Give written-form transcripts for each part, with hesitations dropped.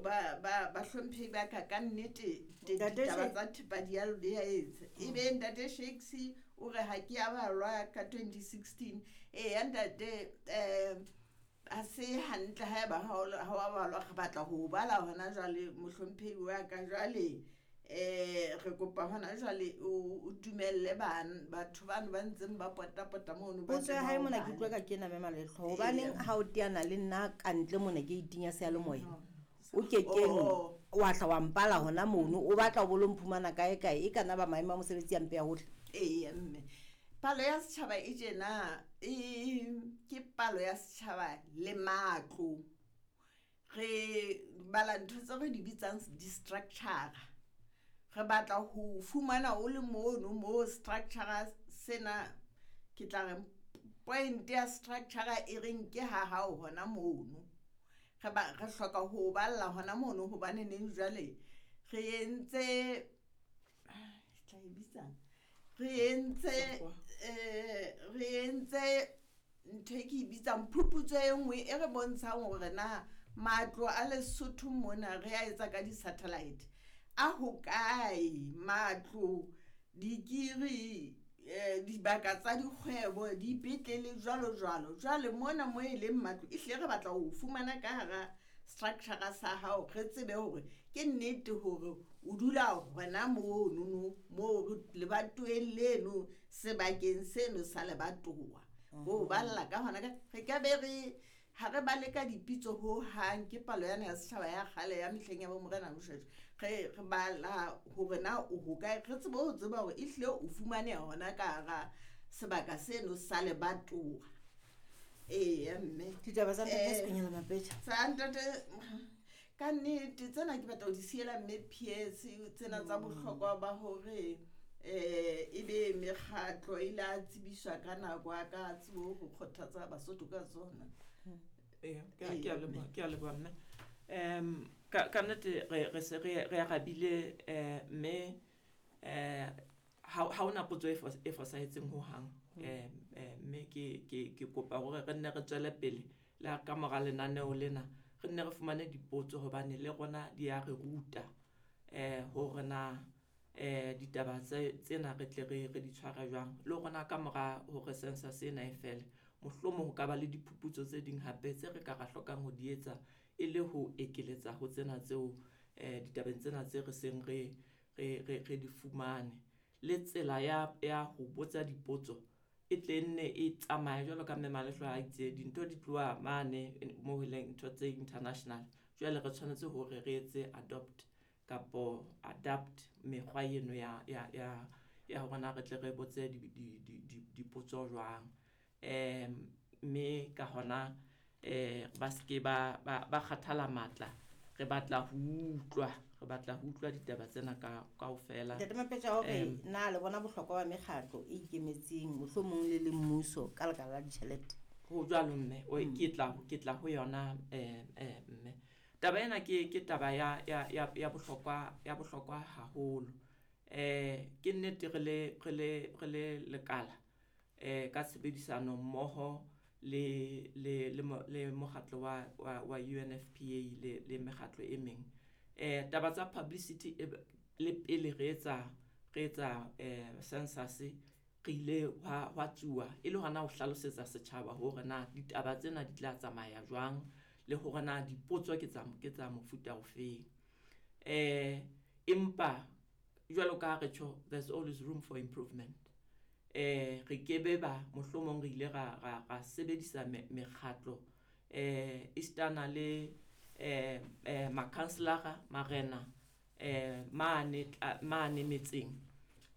ba ba bahlomphehi ba ka ka nnete Ntate ditaba tsa thepa di a di a etsa. Ebe ntate Shakes o re ha ke a balwa ka 2016. Eya ntate, ha se hantle haeba ha wa balwa, re batla ho o bala hona jwale mohlomphehi wa ka. Jwale re kopa hona jwale o dumelle batho bano ba ntseng ba potapota mono ba Potso tle ya ba hae o mona ke bale. utlwa ka ke ena mme Malehloho. Hobaneng ha o teana le nna kantle mona ke itinya seyalemoya? O kekeng Oh. wa hla wa mpala hona mono, o batla ho bolo mphumana kae kae, e kana ba maemo a mosebetsi a mpe ya hohle. Eya mme, palo ya setjhaba e tjena, e ke palo ya setjhaba le matlo. Re bala ntho tse re di bitsang di-structure. Re batla ho fumana o le mono mo structure sena, ke tla re point ya structure e reng ke ha hao hona mono. Re re hloka ho balla hona mono hobane neng jwale re entse, tla e bitsang? Re entse, re entse ntho e ke e bitsang phuputso e nngwe e re bontshang hore na matlo a Lesotho mona re a etsa ka di-satellite. A hokae matlo, dikiri, dibaka tsa dikgwebo, dipetlele jwalo jwalo. Jwale mona mo e leng matlo, ehlile re batla ho fumana ka hara structure sa hao, re tsebe hore ke nnete hore o dula hona monono moo lebatoweng leno, sebakeng seno sa lebatowa. Ho balla ka hona ka, re ka be re ha re bale ka dipitso ho hang, ke palo yana ya setjhaba ya kgale ya mehleng ya bo Morena Moshoeshoe. Re bala hore na o hokae, re tsebe ho tseba hore ehlile o fumaneha hona ka hara sebaka seno sa lebatowa. Eya mme. Ditaba tsa ntate Sekonyela Mapetja. Tsa ntate, ka nnete tsena ke batla ho di siela mme PS, tsena tsa bohlokwa ba hore ebe mekgatlo e la tsebiswa ka nako, a ka tsebo ho kgothatsa Basotho ka tsona. Eya, ke a leboha, ke a leboha mme. Ka nnete re se re arabile, mme, ha hona potso e fosahetseng ho hang. Mme ke kopa hore re nne re tswele pele le ha ka mora lenaneo lena, re nne re fumane dipotso hobane le rona di a re ruta, hore na, ditaba tsena re tle re di tshware jwang. Le rona ka mora hore census ena e fele, mohlomong ho ka ba le diphuputso tse ding hape tse re ka ra hlokang ho di etsa e le ho ekeletsa ho tsena tseo, ditabeng tsena tse re seng re di fumane. Le tsela ya ho botsa dipotso e tle nne e tsamaye jwalo ka mme Malehloho a itse, dintho di tloha mane moo e leng ntho tse international. Jwale re tshwanetse hore re etse adopt kapo adapt mekgwa eno ya hore na re tle re botse dipotso jwang. Mme ka hona, ba seke ba kgathala matla. Re batla ho utlwa, re batla ho utlwa ditaba tsena kaofela. Ntate Mapetja, hore na le bona bohlokwa ba mekgatlo e ikemetseng mohlomong le le mmuso ka lebaka la ditjhelete? Ho jwalo mme, o, ke tla ho yona, mme. Taba ena ke taba ya bohlokwa haholo. Ke nnete re le lekala, ka tshebedisano mmoho le mokgatlo wa UNFPA le mekgatlo e meng. Taba tsa publicity e le pele re etsa, census, re ile hwa tsuwa e le hona ho hlalosetsa setjhaba hore na ditaba tsena di tla tsamaya jwang le hore na dipotso ke tsa mofuta ofeng. Empa jwalo ka ha re tjho, there's always room for improvement. Re kebe ba mohlomong re ile ra sebedisa mekgatlo, esitana le, makhanselara, marena, mane metseng,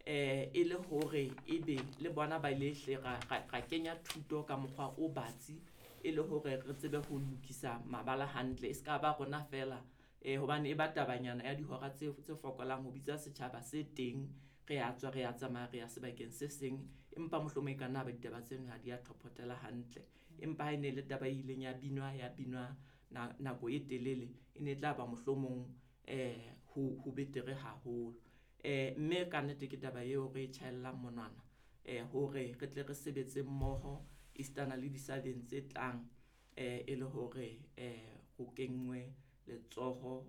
e le hore ebe le bona ba ile hle ra kenya thuto ka mokgwa o batsi, e le hore re tsebe ho lokisa mabala hantle, e ska ba rona fela, hobane e ba tabanyana ya dihora tse fokolang ho bitsa setjhaba se teng, re a tswa, re a tsamaya, re ya sebakeng se seng, empa mohlomong e ka nna ba ditaba tseno ha di a thophotela hantle. Empa ha e ne le taba e ileng ya binwa, ya binwa nako e telele, e ne e tla ba mohlomong, ho betere haholo. Mme ka nnete ke taba eo re e tjhaellang monwana, hore re tle re sebetse mmoho esitana le disabeng tse tlang, e le hore, ho kenngwe letsoho.